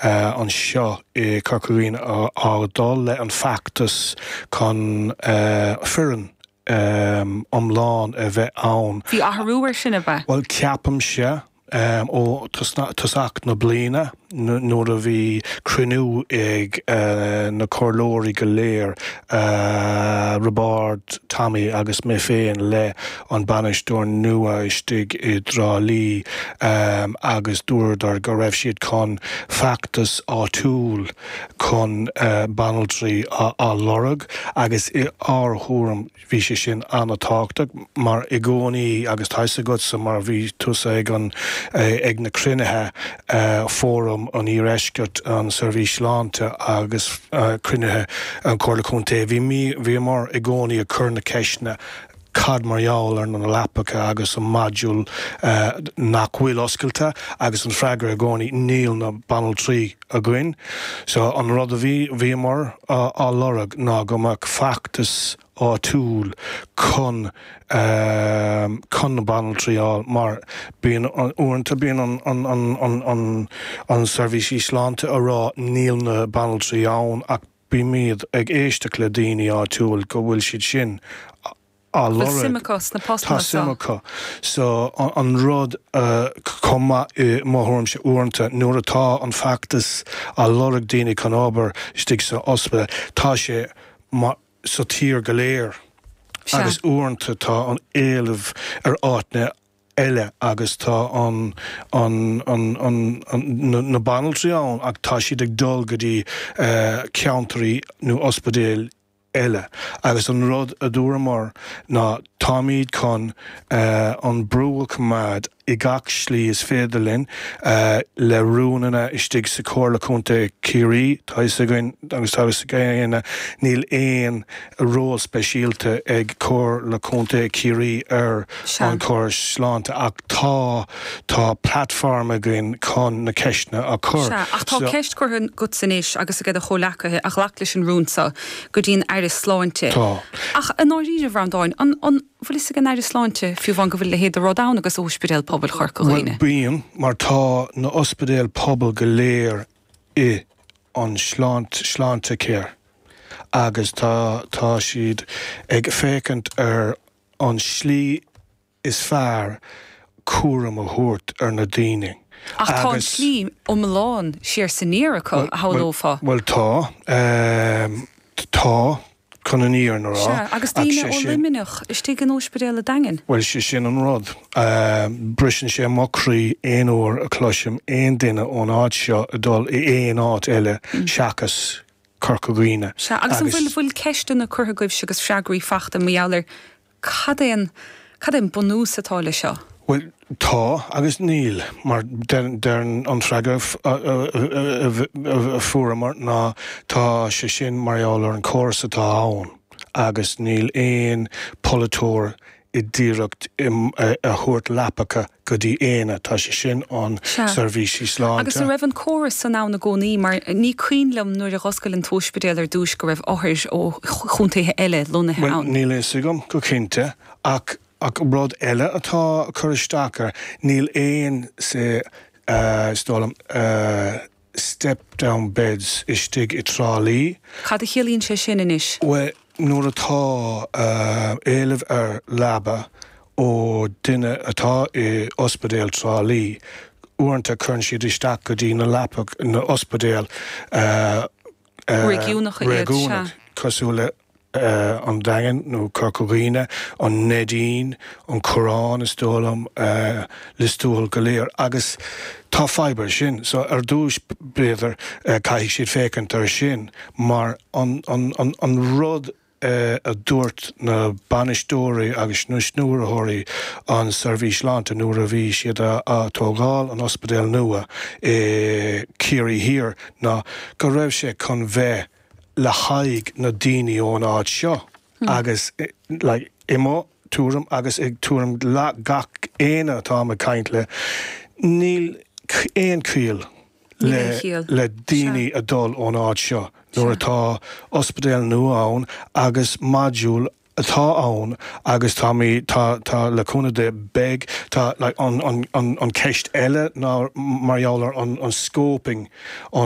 Anseo i Corca Dhuibhne á dul le an feachtas chun foireann iomlán a bheith ann. Bhí athrú ar sin, ab ea? Bhuel, ceapaimse ó tosach na bliana nuair a bhí cruinniú ag na comhairleoirí go léir, Roibeárd, Tommy agus mé féin le an bainisteoir nua istigh i dTrá Lí agus dúradar go raibh siad chun feachtas áitiúil chun banaltraí a lorg agus i ár thuairim bhí sé sin an-tábhachtach mar i gcónaí agus tá fhios agatsa mar bhí tusa ag an ag na cruinnithe Fóram an Iardheiscirt, an Seirbhís Sláinte agus cruinnithe an Chomhairle Contae bhí bhíomar i gcónaí ag cur na ceisteanna cad mar gheall ar na leapacha agus an module nach bhfuil oscailte agus an freagra i gcónaí níl na banaltraí againn. So an rud a bhí, bhíomar á lorg ná go mbeadh feachtas áitiúil chun chun na banaltraí a fháil mar bíonn uaireanta bíonn an an an an an an seirbhísí sláinte a rá níl na banaltraí ann ach Bímid ag éisteacht le daoine áitiúil go bhfuil siad sin á lorg. Bhfuil suim acu sna postanna Tá suim acu. So an rud chomh maith i mo thuairimse uaireanta nuair atá an feachtas á lorg daoine chun obair istigh sa ospidéal tá sé sa tír go léir agus uaireanta tá an éileamh ar áiteanna eile agus tá an, an, an, an, an, na banaltraí ann ach tá siad ag dul go dtí ceantraí nó ospidéil eile agus an rud a dúramar ná táimid chun an brú a choimeád i gach slí is féidir linn le rúnanna istigh sa Chomhairle Contae Chiarraí, tá fhios againn agus tá fhios ag éinne níl aon ról speisialta ag Comhairle Contae Chiarraí ar an chóras sláinte ach tá, tá platform againn chun na ceisteanna a chur. Sea, ach tá ceist curtha agatsa anois agus ag do chomhleacaithe a ghlac leis an rún seo go dtí an Aire Sláinte. Tá. Ach i ndáiríre, a Bhreandáin, an, an bhfuil fhios ag an Aire Sláinte fiú amháin go bhfuil a leithéid de rud ann agus Ospidéal Pobail Chorca Dhuibhne? Bhuel, bíonn, mar tá na ospidéil pobail go léir i an sláint, Sláintecare agus tá, tá siad ag féachaint ar an slí is fearr cúram a thabhairt ar na daoine Ach tá an tslí iomlán siar 's aniar acu, a shamhlófá. Bhuel, tá. Tá, chun an fhírinne a rá. Sea, agus daoine ó Luimneach istigh in Ospidéal a' Daingin. Bhuel, sé sin an rud. Briseann sé mo chroí aon uair a chloisim aon duine ón áit seo ag dul i aon áit eile seachas Corca Dhuibhne. Sea, agus an bhfuil, bhfuil ceisteanna curtha agaibhse agus freagraí fachta mar gheall ar cad é an, cad é an bunús atá le seo? Bhuel, tá agus níl, mar deireann an freagra a fuaireamar ná tá sé sin mar gheall ar an chóras atá ann agus níl aon polaiteoir i d'iarracht a thabhairt leapacha go dtí éinne. Tá sé sin an seirbhísí sláinte. Agus an raibh an córas san ann i gcónaí? Mar ní cuimhin liom nuair a dh'oscail an t-ospidéal ar dtúis go raibh othair ó chontaetha eile lonnaithe ann. Bhuel, níl a fhios agam go cinnte, ach ach rud eile atá ag cur isteach air, níl aon, say, is dóigh liom, step down beds istigh i Trá Lí. Cad a chiallaíonn sé sin anois? Bhuel, nuair atá éileamh ar leaba ó duine atá i ospidéal Trá Lí, uaireanta cuireann siad isteach go dtí na leapa, na ospidéil Réigiúnacha iad, sea. Cosúil le an Daingean nó Corca Dhuibhne, an Neidín, an Coireán is dóigh liom, Lios Tuathail go léir agus tá fadhb ar sin. So ar dtúis b'fhéidir caithfidh siad féachaint ar sin mar an an rud a dúirt na bainisteoirí agus na stiúrthóirí an seirbhís sláinte nuair a bhí siad a tógáil an ospidéal nua i Ciarraí Thiar ná go raibh sé chun bheith le haghaidh na daoine ón áit seo agus like i mo tuairim agus i tuairim gach éinne atáim ag caint le, níl aon chiall le le daoine a dul ón áit seo nuair atá ospidéal nua ann agus module. atá ann agus tá mé, tá, tá, le cúnamh Dé, beidh, tá, like, an, an, an, an ceist eile ná mar gheall ar an, an scoping, an.